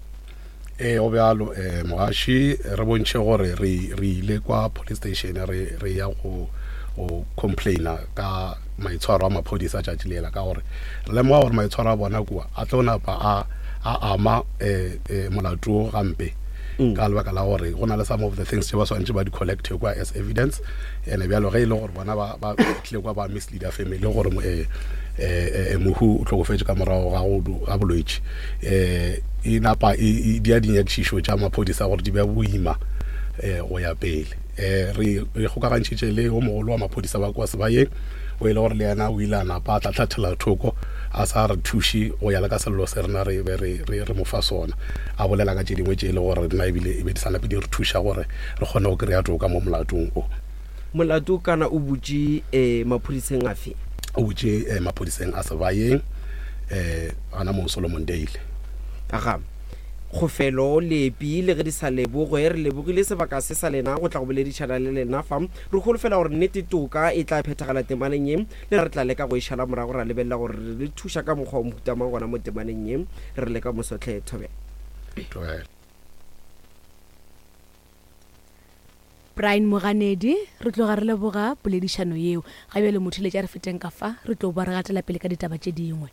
Ee, go bjalo. Um mogaši, re bontšhe gore re, re ile kwa police station re, re ya go, go complaina ka maitshwaro a maphodisa tšatši lela, ka gore re lemoga gore maitshwaro a bona kua a tlo napa a, a ama um um molato wo gampe ka lebaka la gore go na le some of the things tše ba swanetše ba di collecte kwa as evidence. Ene bjalo ge e le gore bona ba, ba tlile kwa ba misleader family gore um um mohu o hlokofetše ka morago ga go ga bolwetši um e napa e e dia dinyakišišo tša maphodisa gore di be boima um go ya pele. Um re re kgokagantšhitše le o mogolo wa maphodisa ba kwa Sebayeng o e le gore le yena o ile a napa a tlatlhathela thoko a sa re thuše go ya le ka sello se rena re be re re re mo fa sona, a bolela ka tše dingwe tše e le gore rena ebile e be di sa nape di re thuša gore re kgone go kry-a toka mo molatong o. Molato kana o butše eh, maphodiseng afe? O butše eh, maphodiseng a Sebayeng eh, gana mo Solomon Dale. Aga. Kgofelo, Lepi, le ge di sa lebogwe, re lebogile sebaka se sa lena go tla go boledišana le lena fa. Re holofela gore nnete toka e tla phethagala temaneng ye, le re tla leka go e šala morago ra lebelela gore re le thuša ka mokgwa wa mohuta mang gona mo temaneng ye. Re le ka moso hle, Thobela. Thobela. Brian Moganedi, Re tloga re leboga poledišano yeo. Ga bjale motheeletši a re feteng ka fa, re tlo ba re gatela pele ka ditaba tše dingwe.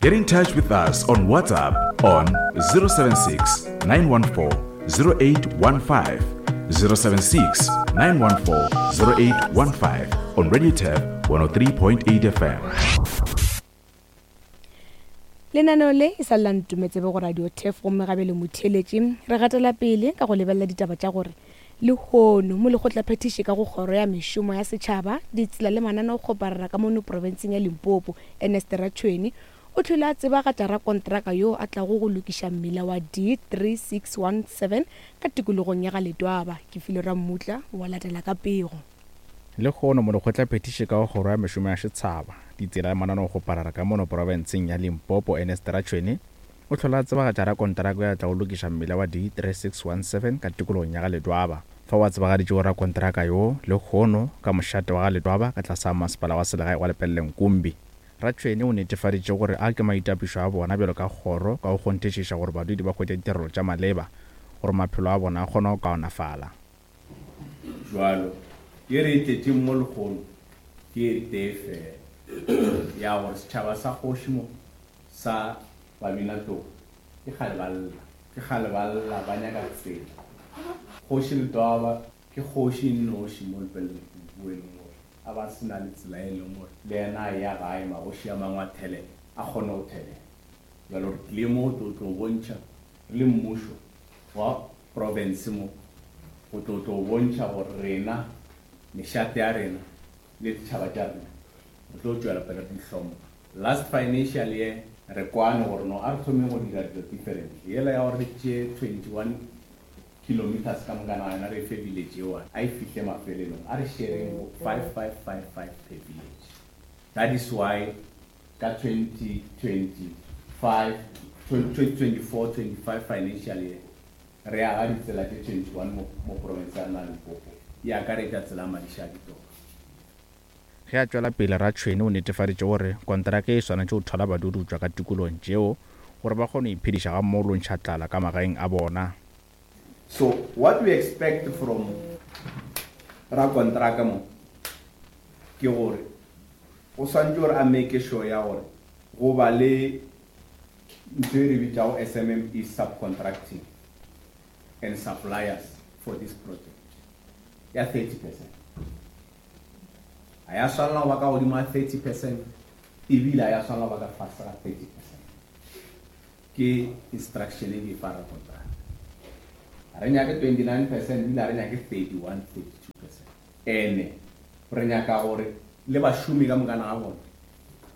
Get in touch with us on WhatsApp on 076 914 0815, 076 914 0815 on Radio Tab 103.8 FM. Lenaneo le e sa le la Ntumetsebe go Radio Turf gomme gabe le motheeletši re gatela pele ka go lebelela ditaba tša gore lehono molekgotlaphethiši ka go kgoro ya mešomo ya setšhaba, ditsela le mananeokgoparara ka mono profenseng ya Limpopo, Ernest Ratšhweni, o hlwele a tsebagatša rakontraka yoo a tlago go lokiša mmila wa D3617 ka tikologong ya ga Letwaba. Kefilwe Rammutla wa latela ka pego. Lehono, Molekgotlaphethiši ka go Kgoro ya Mešomo ya Setshaba, Ditsela le Mananeokgoparara ka mono profenseng ya Limpopo, Ernest Ratšhweni, o hlola a tsebagatša rakonteraka yo a tlago lokiša mmila wa D3617 ka tikologong ya ga Ledwaba. Fao a tsebagaditšego rakonteraka yoo lehono ka mošate wa ga Ledwaba ka tlase ga masepala wa selegae wa Lepelle-Nkumbi. Ratšhweni o netefaditše gore a ke maitapišo a bona bjalo ka kgoro ka go kgonthišiša gore badudi ba hwetša ditirelo tša maleba gore maphelo a bona a kgone go kaonafala. Jwalo, ye re e tletšeng mo lehono ke e tee fela, ya gore setšhaba sa kgoši mo sa Babinatlou ke kgale ba lla, ke kgale ba lla ba nyaka tsela. Kgoši Letwaba ke kgoši e nnoši mo Lepelle-Nkubu e leng gore a ba se na le tsela e leng gore le yena a eya gae magoši a mangwe a thelela, a kgone go thelela. Bjalo re tlile mo go tlo tlo bontšha re le mmušo wa profense mo go tlo tlo bontšha gore rena, mešate ya rena le ditšhaba tša rena re tlo tšwela pele re di hlompha. Last financial year re kwane gore no a re thomeng go dira dilo differently. Yela ya gore re tšee 21 kilometres ka mokana ga yona re e fe village ye one, a e fihle mafelelong, a re shareng go 5, 5, 5, 5 per village. That is why ka 2025, 2024, 25 financial year re aga ditsela tše 21 mo, mo profense ya rena ya Limpopo, e akaretša tsela ya Madiša-Ditoro. Ge a tšwela pele, Ratšhwene o netefaditše gore konteraka e swanetše go thwala badudi go tšwa ka tikologong tšeo gore ba kgone go iphediša gammogo le go ntšha tlala ka magaeng a bona. So what we expect from rakonteraka mo ke gore o swanetše gore a make sure ya gore go ba le ntho e re bitšago SMME subcontracting and suppliers for this project ya 30 percent. A ya swanela go ba ka godimo ga 30 percent ebile a ya swanela go ba ka fase ga 30 percent. Ke instruction e ke e fa rakonteraka. Ga re nyake 29 percent ebile ga re nyake 31, 32 percent. Ene re nyaka gore le bašomi ka mokana ga bona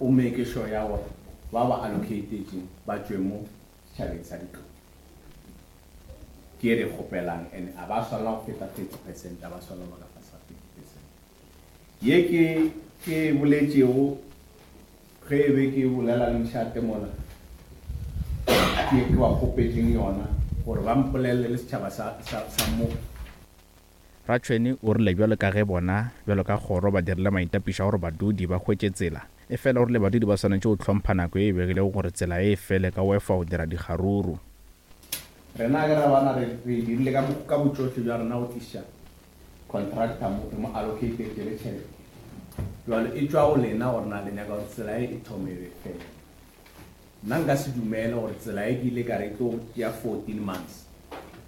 o make sure ya gore ba ba allocatetšeng ba tšwe mo setšhabeng sa ditlou. Ke e re kgopelang and a ba swanela go feta 30 percent, a ba swanela go ba ka fase ga 30 percent. Ye ke ke e boletšego ge e be ke bolela le mošate mola, ke ke ba kgopetšeng yona gore ba mpolelele le setšhaba sa, sa, sa mo. Ratšhwene o rile bjalo ka ge bona bjalo ka kgoro ba dirile maitapišo a gore badudi ba hwetše tsela, efela o rile badudi ba swanetše go hlompha nako ye e begilego gore tsela e fele ka go efa go dira dikgaruru. Rena ge ra bana re re dirile ka ka botšohle bja rena go tliša contractor mo re mo allocatetše le tšhelete. Jwale e tšwa go lena gore na le nyaka gore tsela e e thome e be fele. Nna nka se dumele gore tsela e ke ile ka re e tlo tšea 14 months,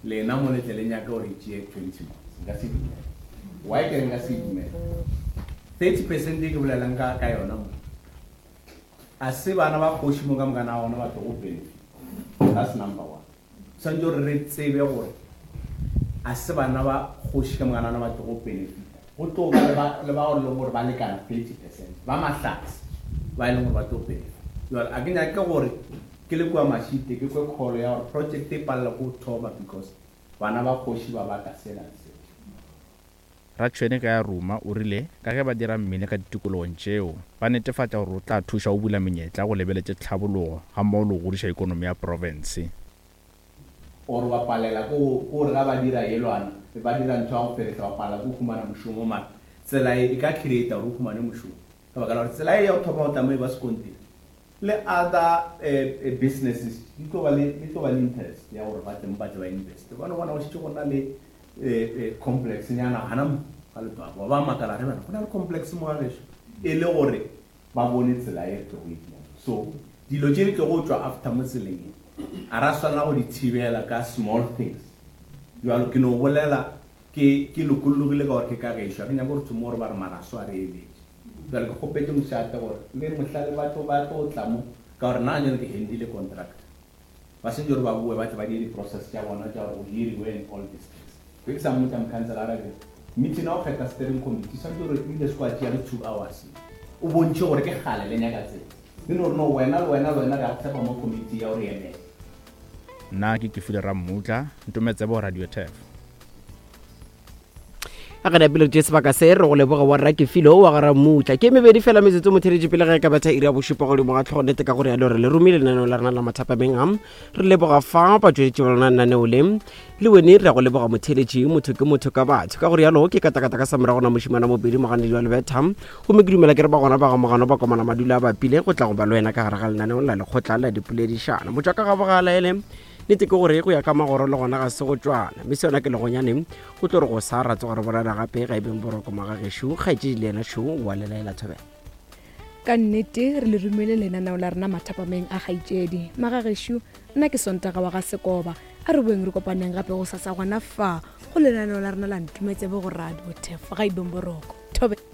lena mo le tle le nyake gore e tšee 20 months. Nka se dumele. Why ke re nka se e dumele? 30 percent e ke bolelang ka ka yona mo, a se bana ba kgoši mo ka mokana ga bona ba tlogo benefit. That's number one. Swanetše gore re tsebe gore a se bana ba kgoši ka mokana ga bona ba tlogo benefita. Go tlo ba le ba, le bao e leng gore ba lekana 30 percent ba mahlatse ba e leng gore ba tlo benefita. Jwale a ke nyake gore ke le kua Mashite ke kwe call ya gore project e palela ke go thoma because bana ba kgoši ba baka sela le sela. Ratšhwene ge a ruma o rile ka ge ba dira mmine ka ditikologong tšeo, ba netefatša gore o tla thuša go bula menyetla go lebeletše tlhabologo gammogo le go godiša ikonomi ya profense. Or ba palela ko gore ga ba dira yelwana ba dira ntho ya go ferehla ba palela ko humana mošomo mara tsela e e ka creata gore o humane mošomo ka baka la gore tsela e ya go thoma go tla mo e ba sekontiri le other businesses di tlo ba le di tlo ba le interest ya gore ba tle mo ba tle ba invest ba no bona go šetše go na le complex nyana gana mo ga Letwaba ba makala re bana go na le complex mo ga gešo e le gore ba bone tsela e re tlogo e dira so dilo tše di tlogo tšwa after mo tseleng e a ra swanela go di thibela ka small things jalo ke no bolela ke ke lokollogile ka gore ke ka gešo a ke nyake gore thome gore ba re maraso a re eletše Bjale ke kgopetše mošate gore le mohla le batho ba tlo tla mo, ka gore nna ganyane ke handile contract, ba swanetše gore ba boe ba tle ba die di-process tša bona tša gore go hiriwe and all these things. Be ke sa mmotša mokhanselara ke re, meeting ya go kgetha steering committee swanetše gore ebile se kwa tšea le 2 hours, o bontšhe gore ke kgale le nyaka tsela. Le no re no wena le wena le wena re ya go tshepa mo committee ya go re emela. Nna ke Kefile Rammutla, Ntometsebo Radio Turf. A re napile re tšee sebaka se re go leboga wa rra Kefilo wa ga Ramutla. Ke mebedi fela metsotso motheletši pele ge e ka betha iri ya bošupa godimo ga tlhogo nete ka gore yalo re le romile lenaneo la rena la mathapameng a re leboga fa batšweletši ba lona lenaneo le le wene re ya go leboga motheletši motho ke motho ka batho ka gore yalo ke katakata ka sa morago na mošimana mobedi moganedi wa lebetha gomme ke dumela ke re ba gona ba ga mogano ba komana madula a bapile go tla go ba le wena ka gare ga lenaneo la lekgotla la dipoledišano motšwa ka gabogala ele Nnete ke gore go ya ka magoro le gona ga se go tšwana, mme se yona ke legonyane go tlo re go sa ra tsoga re bolela gape ga e beng boroko magagešo kgaetšedi le yena šo wa lelaela thobela. Ka nnete re le romile lenaneo la rena mathapameng a kgaetšedi magagešo. Nna ke Sontaga wa ga Sekoba. A re boeng re kopaneng gape gosasa gona fa go lenaneo la rena la Ntumetsebe go Radio Thefo ga e beng boroko. Thobela.